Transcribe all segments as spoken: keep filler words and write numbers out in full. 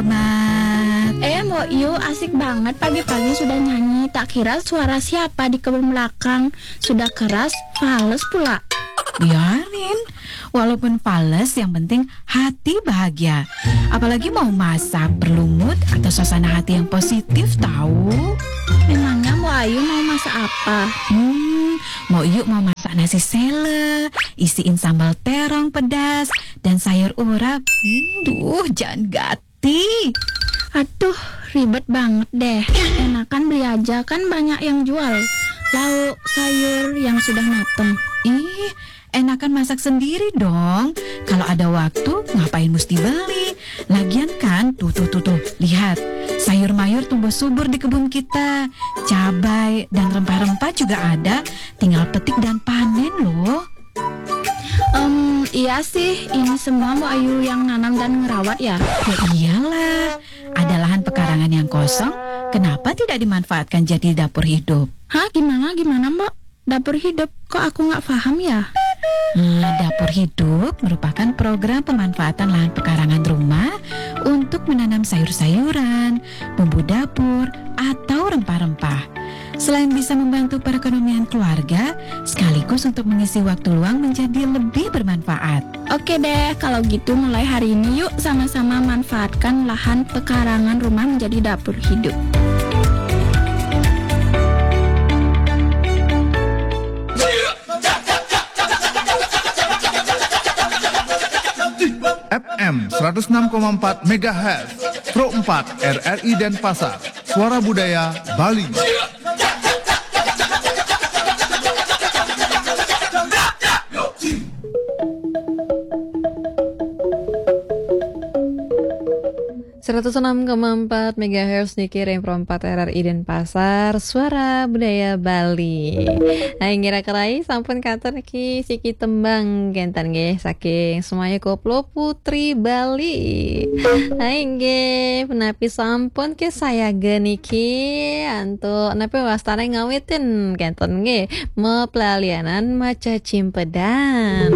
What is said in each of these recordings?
Mat. Eh, Mbok Yu, asik banget pagi-pagi sudah nyanyi. Tak kira suara siapa di kebun belakang. Sudah keras, fales pula. Biarin, walaupun fales, yang penting hati bahagia. Apalagi mau masak, berlumut, atau suasana hati yang positif, tahu. Memangnya Mbok Ayu mau masak apa? Hmm, Mbok Yu mau masak nasi sele, isiin sambal terong pedas, dan sayur urap. Hmm, duh, jangan gati. Aduh, ribet banget deh. Enakan beli aja, kan banyak yang jual. Lauk, sayur yang sudah mateng. Ih, enakan masak sendiri dong. Kalau ada waktu, ngapain mesti beli? Lagian kan, tuh, tuh, tuh, tuh. Lihat, sayur mayur tumbuh subur di kebun kita. Cabai dan rempah-rempah juga ada. Tinggal petik dan panen loh. Em, iya sih, ini semua Mbok Ayu yang nanam dan ngerawat ya? Ya iyalah, ada lahan pekarangan yang kosong, kenapa tidak dimanfaatkan jadi dapur hidup? Hah, gimana, gimana, Mbok? Dapur hidup, kok aku nggak paham ya? Nah, dapur hidup merupakan program pemanfaatan lahan pekarangan rumah untuk menanam sayur-sayuran, bumbu dapur, atau rempah-rempah. Selain bisa membantu perekonomian keluarga, sekaligus untuk mengisi waktu luang menjadi lebih bermanfaat. Oke deh, kalau gitu mulai hari ini yuk sama-sama manfaatkan lahan pekarangan rumah menjadi dapur hidup. F M seratus enam koma empat megahertz, Pro empat R R I Denpasar, Suara Budaya Bali. Seratus enam koma empat megahertz niki ring Pro empat R R I Denpasar, Suara Budaya Bali. Nah, inggih raka rai, sampun katur niki siki tembang kenten nggih saking Semaya Koplo Putri Bali. Nah, inggih, punapi sampun kesayaga niki antuk napi wastane ngawitin kenten nggih, maplalianan macecimpedan.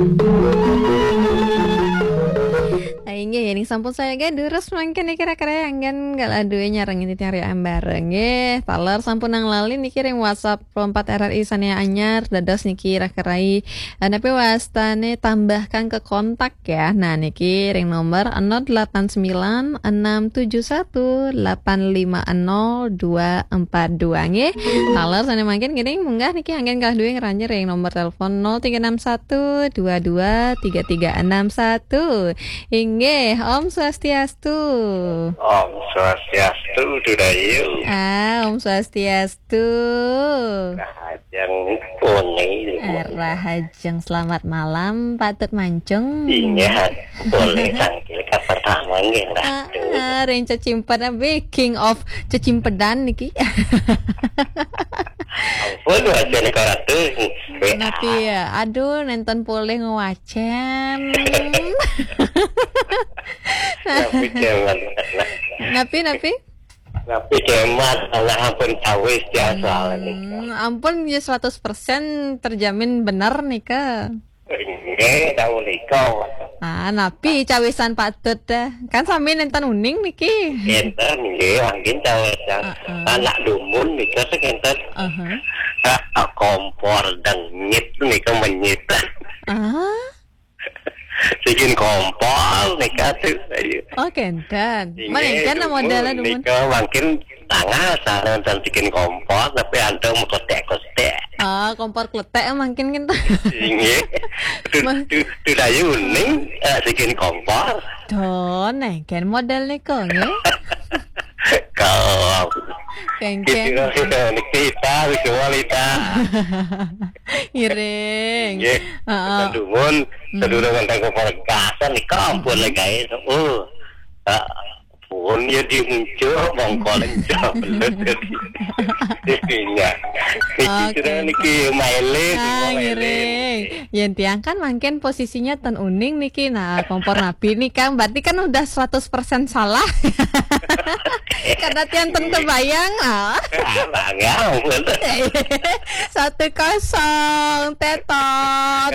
Ah, inggih, ning sampun sayaga durus mangkin niki raka rai anggen galah duwe nyarengin titiang ri ambara nggih. Taler sampun nang lali niki ring WhatsApp Pro empat R R I sane anyar, dados niki raka rai. Ah, napi wastane tambahkan ke kontak ya. Nah, niki ring nomor nol delapan sembilan enam tujuh satu delapan lima nol dua empat dua nggih. Taler sane mangkin ngiring munggah niki anggen galah duwe ngranjing ring nomor telepon nol tiga enam satu dua dua tiga tiga enam satu. Inggih, Om Swastiastu. Om Swastiastu, Dudayu. Ah, Om Swastiastu. Rahajeng puni. Rahajeng, selamat malam, patut mancung. Inggih, boleh tangkil ka pertama nggih, Ratu. Ah, ah, ring cecimpedan, king of cecimpedan niki. Ampun, wacana Ratu. Napi ya? Aduh, nenten polih ngwacen. Napi, Cemat? Napi, napi? Napi, Cemat? Alah, ampun cawis ya soalnya nika. Hmm, ampun ya, seratus persen terjamin bener nika. Nggih, tahu nika. Ah, napi cawisan patut dah. Kan sami nenten uning niki. Enten nggih, mangkin cawisan. Heeh. Anak dumun nika sing enten. Aha. Ah, kompor dengit nika menyit. Ah. Sikin kompor nika tuh. Ayo. Oh, kenten. Inggih, mangkin dumun modalnya dumun nika mangkin tangah sana dan sikin kompor tapi antum kletek-kletek. Ah, kompor kletek mangkin kan. Inggih. Tu, tu, tu dayu ning, eh, sikin kompor. Tuh, nengken model niko nggih. Kau. Kengken. Gitu, niki kita, wis wali ta. Ngiring. Nggih. Heeh. Dumun, hmm, sedurung enten kompor gasan nika ampun le gawe. Oh. Ah, pun ya diunjuk, mongko lencah belut jadi. Iya. Niki oke, sudah niki maile, ah, semua maile. Ngiring. Yen tiang kan mangkin posisinya ten uning niki. Nah, kompor napi nih, Kang. Berarti kan udah seratus persen salah. Kada tiang ten kebayang lah. Bangga pun. Satu kosong, tetot.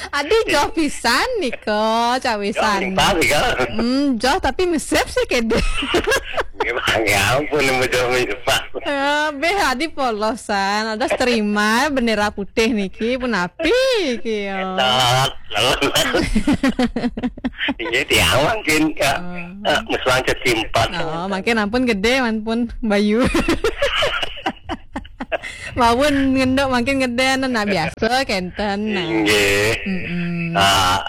Adi joh pisan niko, cawisan. Joh, tapi mesep sih kede. Bangga pun, joh. Eh, beh, adi polosan, ada terima bendera putih niki, pun api, kio. Tetot. Iya, tiang mangkin, ya. Ah. Eh, mesang cecimpat. Oh, mangkin ampun gede, ampun bayu. Mawon ngendok mangkin gede, nah, biasa kenten. Nah. Inggih. Mm-mm. Ah,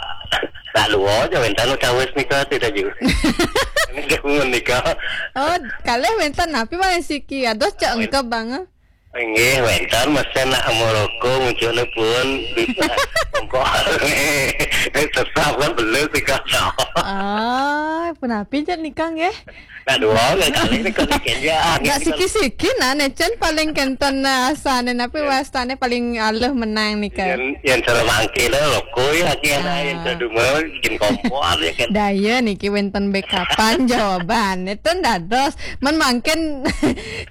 tak luo aja wenten utawis nika tidak juga. Ini dia pun nika. Oh, kalih wenten napi, Bang Siki? Ados cek engkep, Bang. Inggih, wenten mesen nak merokok, munculnya pun bisa. Engkau tetap kan belum sih, Kak. Ah, punapi jar nika nggih? Nak dua, nak kali ni kali kerja. Nak siki-siki, nah, necen paling kenten, nah, asane, napi wastane paling alih menang nika. Yang, yang cara mangke dah, loko ya, akhirnya yang kedua, bikin kompor, ya kan. Daya niki wenten bekapan jawaban. Itu dados. Men mangkin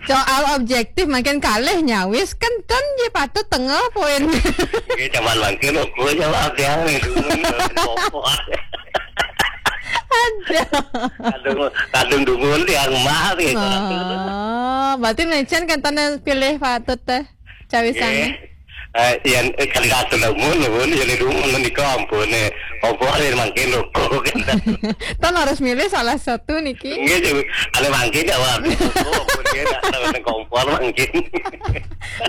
soal objektif, mangkin kalih nyawis, kenten je patut tengah poin. Oke, zaman mangkin aku jawab yang itu. Kompor. Aduh. Kadung, kadung dungun yang mah gitu. Oh, berarti necen kenten pilih patut teh. Cawisan. Nggih. Eh, yang, eh, kali satu lah, mun, mun, yang itu, mun, menika ampun, eh. Apa ada yang mangkin loko, kan? Tan harus milih salah satu niki. Nggih, jadi, ada mangkin, ya, Wak. Loko, ampun, ya, nak tahu nang kompor mangkin.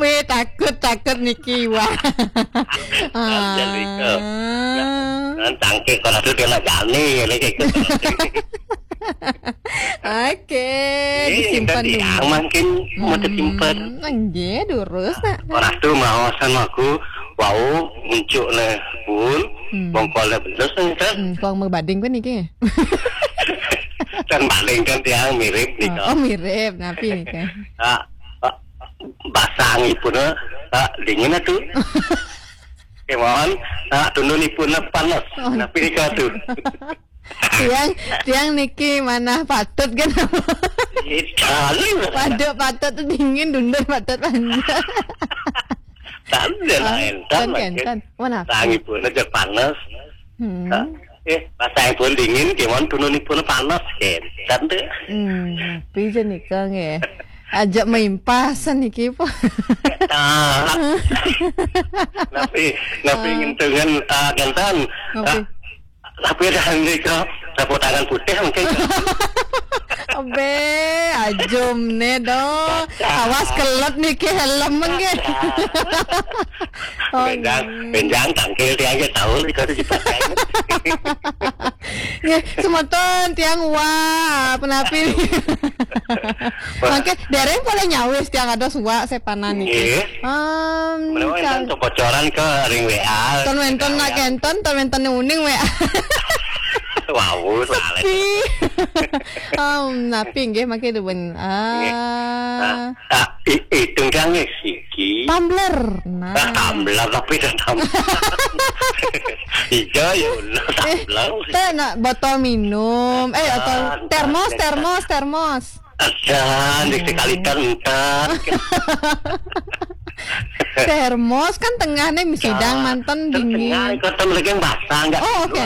Weh, takut, takut niki, wah. Jadi, eh, ah. Kan tangkik, kalau tu dia nak jani, ya, lagi ikut. Oke, disimpan dulu. Yang mangkin mau tersimpan. Nggih, durus, nak. Orang tu mau sama aku, wau, muncul le pun, bongkol le belus, kan? Hmm, kong mau bading pun niki. Kan bading kan tiang mirip nih, oh, mirip, napi nih, kan? Ah, ah, basang ipun, ah, dingin atuh. Kemauan, ah, tundun ipun panas. Oh. Napi nih, tuh? Tiang, tiang niki manah patut kan? Iya, sekali. Pada patut tu dingin, dundur patut panjang. Tanda lain, kan, kan, kan. Mana? Tangi pun aja panas. Hmm. Eh, pasang pun dingin, gimana tunun pun panas, kan? Tanda. Hmm, pija nih, Kang, ya? Aja maimpasan niki, po. Tapi, tapi ngentengan, ah, Gentan. Tapi dah nika, sapu tangan putih mungkin. Abe, ajum ne do. Awas kelet niki helm mungkin. Oh, benjang, benjang tangkil dia aja tahu nika tu dipakai. Nggih, semeton tiang wah, penapi. Mangke dereng pole nyawis tiang ada suwak sepanan niki. Nggih. Menawa enten bocoran ke ring W A. Ton wenten nak kenten, ton wenten uning W A. Wau, salah. Sepi. Napi nggih mangke duwen. Ah. Nggih. Ah, ah, i-, itu kan nggih siki. Tumbler. Nah. Ah, tumbler tapi dah tumbler. Iya, ya Allah, tumbler. Teh nak botol minum. Eh, botol termos, termos, termos. Ada, di sekali kan entar. Termos kan tengahnya sidang mantan dingin. Tengah, ikut sama lagi yang basah, enggak. Oh, oke.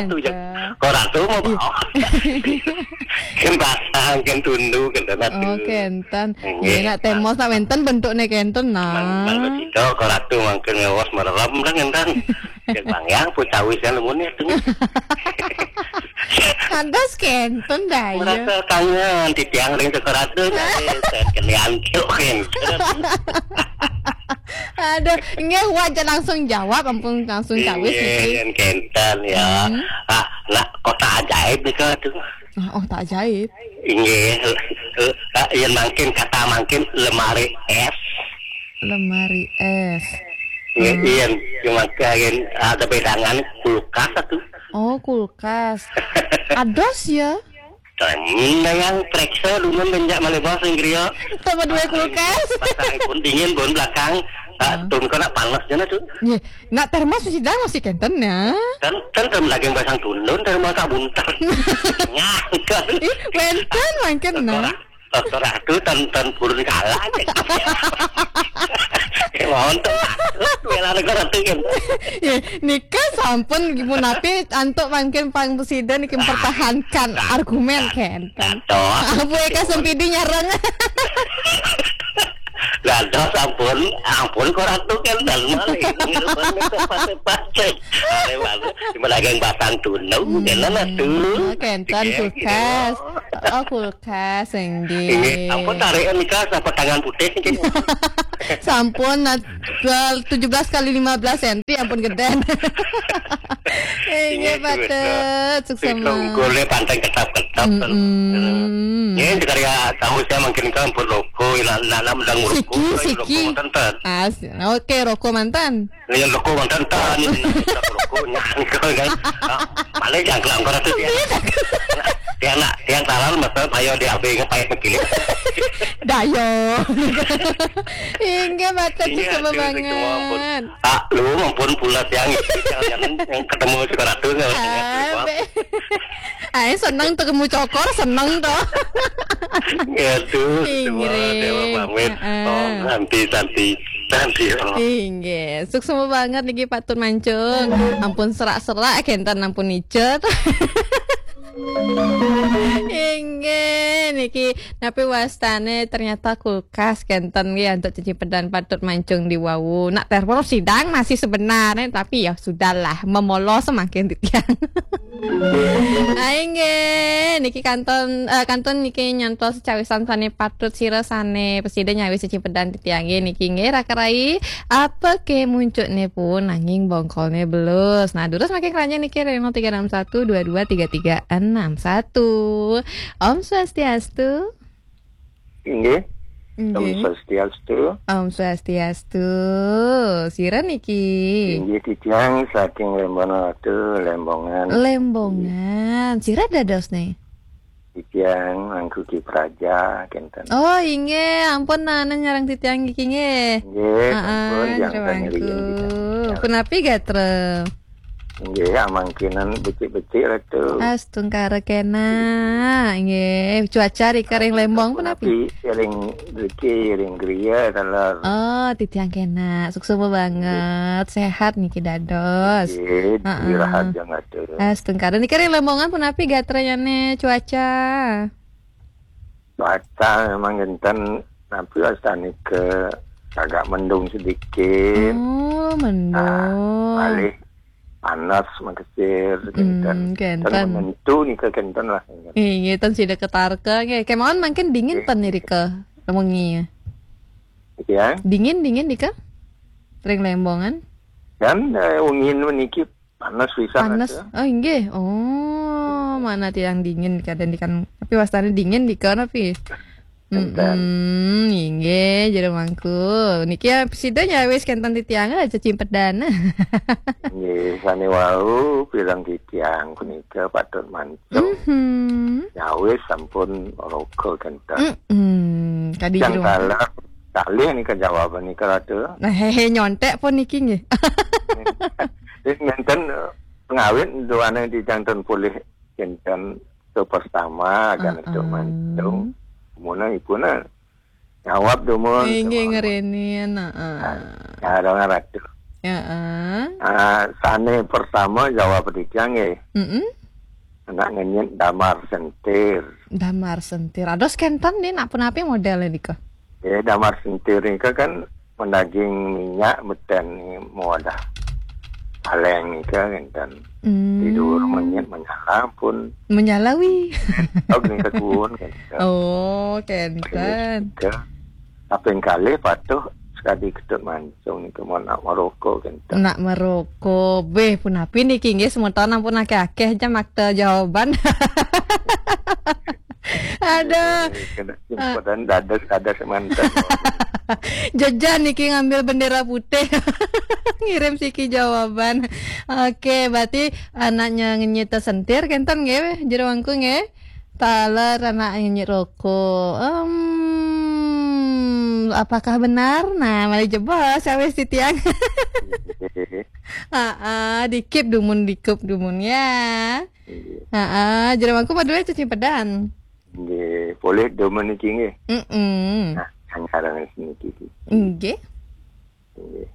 Kau ratu mau bawa. Kan basah, kan tundu, kan tanah tu. Oke, entan. Nggih. Nggih, nak termos nak wenten bentuknya kenten, nah. Mang, mang, kau ratu mangke ngawas merem, kan entan. Cek Bang Yang, pun cawis kan lemun itu. Pantas kenten dah, ya. Merasa kangen, titiang ring sekeratun, eh, saya kelian, kelian. Aduh, nggih, wajar langsung jawab, ampun langsung cawis, nggih, niki. Yang kenten, ya. Hmm. Ah, nak kota ajaib nih, Kak, tuh. Ah, oh, tak ajaib. Nggih, eh, eh, yang mangkin, kata mangkin lemari es. Lemari es. Nggih, hmm. Iya, cuma kain ada pegangan kulkas satu. Oh, kulkas. Ados ya? Tanya yang periksa dulu menjak malih bos Inggris. Sama dua kulkas. Pasang pun dingin, pun belakang. Nah, tun kena panas jana tuh. Nggih. Nak termos sidang masih kenten ya. Dan dan dalam daging basang tundun, termos tak buntar. Nyangkal. Ih, wenten mangken nah. Dokter Ratu tan tan purun kalah. Mohon tuh. Bela negara tuh kan. Ya, nika sampun munapi antuk mangkin pang presiden niki mempertahankan argumen kenten. Apa ya kasempidi nyarang. Lah, dah, ampun, ampun, kok Ratu kan dan maling. Pas-pas. Ada bagus. Cuma dagang batang tunau, kan lah tuh. Kenten kulkas. Oh, kulkas, inggih. Ini, ampun, tarikan nikah apa tangan putih. Sampun, nah, tujuh belas kali lima belas senti, ampun geden. Inggih, patut. Suksema. Unggulnya panteng ketap-ketap. Mm-mm. Ini karya tahu saya mungkin kan pun loko, nanam dan siki, siki. As, oke, roko mantan. Yang loko mantan tan, ini roko nyangkal kan. Malah jangkal angkor itu dia. Dia nak, dia talan masa ayo dia abis ngapain begini. Dayo. Inggih, patut. Iya, suksema banget. Ah, lu ampun pula tiang itu, jangan yang ketemu sekarang tuh, nggak usah ngerti apa. Ae seneng ketemu cokor, seneng to. Ya tuh, semua dewa pamit. Oh, nanti, nanti, nanti, oh. Inggih, suksema banget niki patut mancung. Ampun serak-serak kenten ampun icet. Inggih, niki napi wastane ternyata kulkas kenten nggih untuk cuci pedan patut mancung di wau. Nak termos sidang masih sebenarnya, tapi ya sudahlah, memolos semakin titiang. Ayo nggih, niki kantun, eh, kantun niki nyantos cawisan sane patut sira sane pesida nyawis cuci pedan titiang nggih niki nggih raka-rai. Apa ke muncukne pun nanging bongkolne belus. Nah, durus makin keranya niki reno tiga enam satu dua dua tiga tiga enam satu. Om Swastiastu. Inggih. Om Swastiastu. Om Swastiastu. Sira niki? Inggih, titiang saking Lembongan Ratu, Lembongan. Lembongan. Sira dados nih? Titiang Angku Ki Praja, kenten. Oh, inggih, ampun, nah, nah, nyarang titiang niki nggih. Nggih, ampun, yang terima kasih. Punapi gatra? Nggih, amangkinan becik-becik Ratu. Astungkara kena. Nggih, cuaca rika ring Lembong punapi? Punapi, ring riki, ring griya, taler. Oh, titiang kena. Suksma banget. Sehat niki dados. Nggih, dirahat jeng Ratu. Astungkara. Niki ring Lembongan punapi gatrayane cuaca? Cuaca memang ngenten, napi wastane ke agak mendung sedikit. Oh, mendung. Nah, malih panas makesir, kenten. Kenten. Menentu nika kenten lah. Inggih, ten sida ketarka nggih. Kemawon mangkin dingin pen nirika wengi. Ya. Dingin, dingin nika? Ring Lembongan? Dan, eh, wengi niki panas pisan. Panas. Oh, inggih. Oh, mana tiang dingin kadang di kan. Tapi wastane dingin di kan tapi. Enten. Mm-mm, inggih, jero mangku. Niki ya, sida nyawis kenten titiang aja cimpedan. Nggih, sane wau pirang titiang punika patut mancung. Mhm. Nyawis sampun roka kenten. Mm-mm, kadi jero mangku. Kalih nika jawaban nika Ratu. Nah, hehe, nyontek pun niki nggih. Wis ngenten, eh, pengawit duaning titiang ten pulih kenten to pertama kan to mancung. Muna ipuna jawab dumun. Inggih, ngerenin, heeh. Nah, ya, dong, Ratu. Heeh. Ah, sane pertama jawab titiang nggih. Mm-mm. Anak ngenyit damar sentir. Damar sentir. Ados kenten nih, nak punapi model nika? Ya, damar sentir nika kan mendaging minyak beten nih, mawadah. Paleng nika kenten. Hmm. Tidur ngenyit menyala pun. Menyala wi. Oh, nika kuun kenten. Oh, kenten. Nika. Kaping kalih patuh sekadi ketut mancung nika mun nak merokok kenten. Nak merokok. Beh, punapi niki nggih semeton ampun akeh-akeh jam akte jawaban. Aduh. Kena simpedan dadas, dadas mantan. Jejan niki ngambil bendera putih. Ngirim siki jawaban. Oke, berarti anaknya ngenyit sentir kenten nggih, jero mangku nggih. Taler anak ngenyit rokok. Em, Apakah benar? Nah, malih jebos cawis titiang. Heeh, dikip dumun, dikip dumun ya. Heeh, jero mangku madue cecimpedan. Nggih, polih dumun niki nggih. Mm-mm. Nah, sing aran niki. Nggih. Nggih.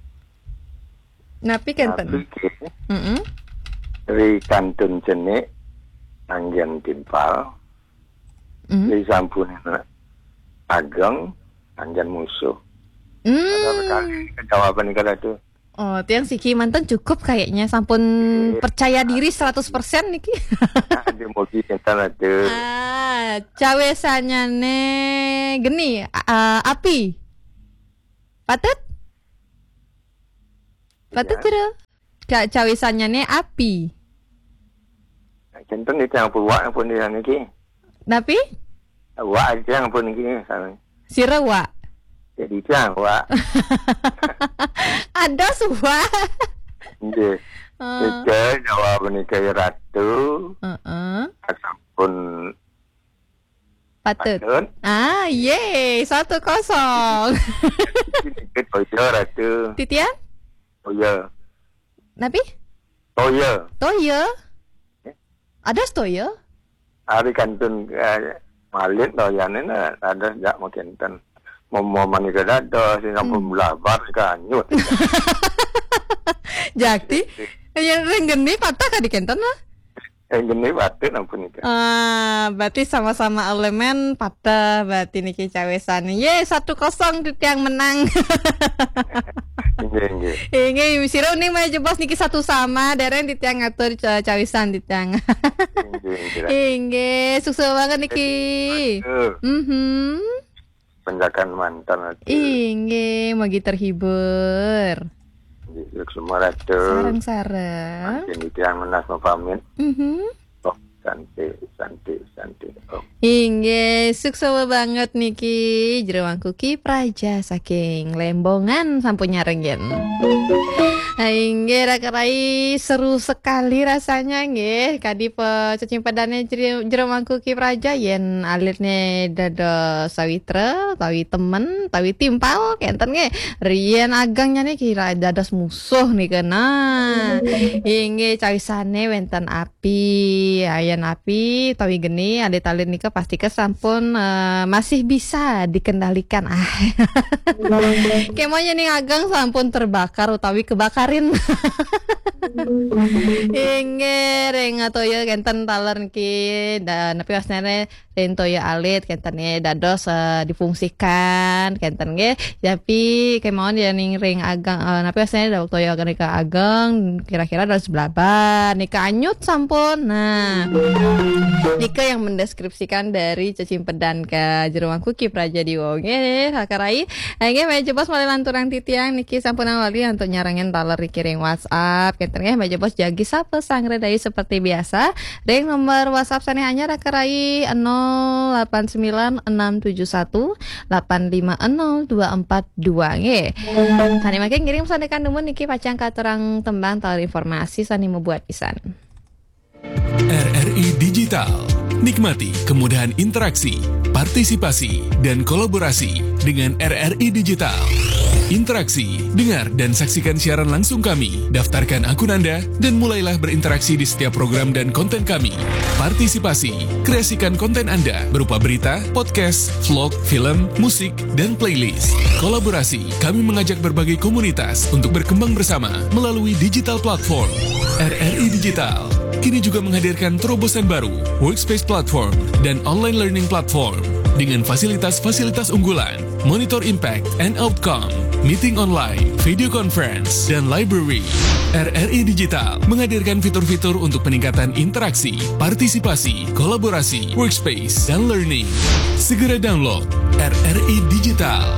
Napi kenten? Napi nggih? Mm-mm. Ri kantun cenik, anggen timpal. Mm. Ri sampun ageng, anggen musuh. Hmm. Ada sekali jawaban niki Ratu. Oh, tiang siki manten cukup kayaknya, sampun percaya diri seratus persen niki. Aduh, mugi kenten Ratu. Ah, cawisanyane geni, ah, api. Patut? Patut, iya. Jero? Ka-, cawisanyane api. Kenten niki ampun wak ampun dia niki. Napi? Wak aja ampun niki sami. Sira wak? Jadi tiang wak. Ada suwak. Nggih. Ah. Niki jawab niki Ratu. Heeh. Sampun Patut. Patut. Ah, yeay, satu kosong. Niki toya Ratu. Titiang? Toya. Napi? Toya. Toya? Eh? Ada toya? Ari kantun, eh, malit toyane na, ada jak makinten. Momo manika dados, sing sampun Hmm. belabar, kanyut. Jakti? Ya, ring geni patah kadi kenten lah. Eh, geni patut ampun nika. Ah, berarti sama-sama elemen patah berarti niki cawisane. Ye, satu kosong titiang menang. Nggih, nggih. Inggih, sira uning malih jebos niki satu sama, dereng titiang ngatur ca-, cawisan titiang. Nggih, nggih. Inggih, sukses banget niki. Aduh. Mhm. Penjakan mantan Ratu. Inggih, mugi terhibur. Nggih, suksma Ratu. Sareng-sareng. Mangkin titiang menas mapamit. Mhm. Oh, santi, santi, santi. Oh. Inggih, suksma banget niki jero mangku Ki Praja saking Lembongan sampun nyarengin. Inggih, Raka Rai, seru sekali rasanya nggih. Kadi pe-, cecimpedane jero, jero mangku Ki Praja yen alitne dados sawitra, utawi temen, utawi timpal, kenten nggih. Riyen ageng nyane kira dados musuh nika. Nah, inggih cawisane wenten api, ayen api utawi geni, alit-alit nika pastika sampun, eh, masih bisa dikendalikan. Ah. Kemawon ning ageng sampun terbakar utawi kebakarin. Inggih, ring toya kenten taler niki. Da-, napi wasnane ring toya alit kenten nggih dados, eh, difungsikan kenten nggih. Tapi kemawon ya ning ring ageng, eh, napi wasnane dawek toya nika ageng kira-kira dados blabar nika anyut sampun. Nah, nika yang mendeskripsikan dari cecimpedan ka jero mangku Ki Praja Dewa nggih, Raka Rai. Nggih, malih jebos malih lanturang titiang niki sampun wali antuk nyarengin taler niki ring WhatsApp. Kenten nggih, malih jebos jagi sapa sanggra dayu seperti biasa. Ring nomor WhatsApp sane anyar Raka Rai nol delapan sembilan enam tujuh satu delapan lima nol dua empat dua nggih. Sane mangke ngiring pesan tekan dumun niki pacang katurang tembang taler informasi sane mabuat pisan. R R I Digital. Nikmati kemudahan interaksi, partisipasi, dan kolaborasi dengan R R I Digital. Interaksi, dengar dan saksikan siaran langsung kami. Daftarkan akun Anda dan mulailah berinteraksi di setiap program dan konten kami. Partisipasi, kreasikan konten Anda berupa berita, podcast, vlog, film, musik, dan playlist. Kolaborasi, kami mengajak berbagai komunitas untuk berkembang bersama melalui digital platform. R R I Digital kini juga menghadirkan terobosan baru, Workspace Platform dan Online Learning Platform, dengan fasilitas-fasilitas unggulan, Monitor Impact and Outcome, Meeting Online, Video Conference, dan Library. R R I Digital menghadirkan fitur-fitur untuk peningkatan interaksi, partisipasi, kolaborasi, workspace, dan learning. Segera download R R I Digital.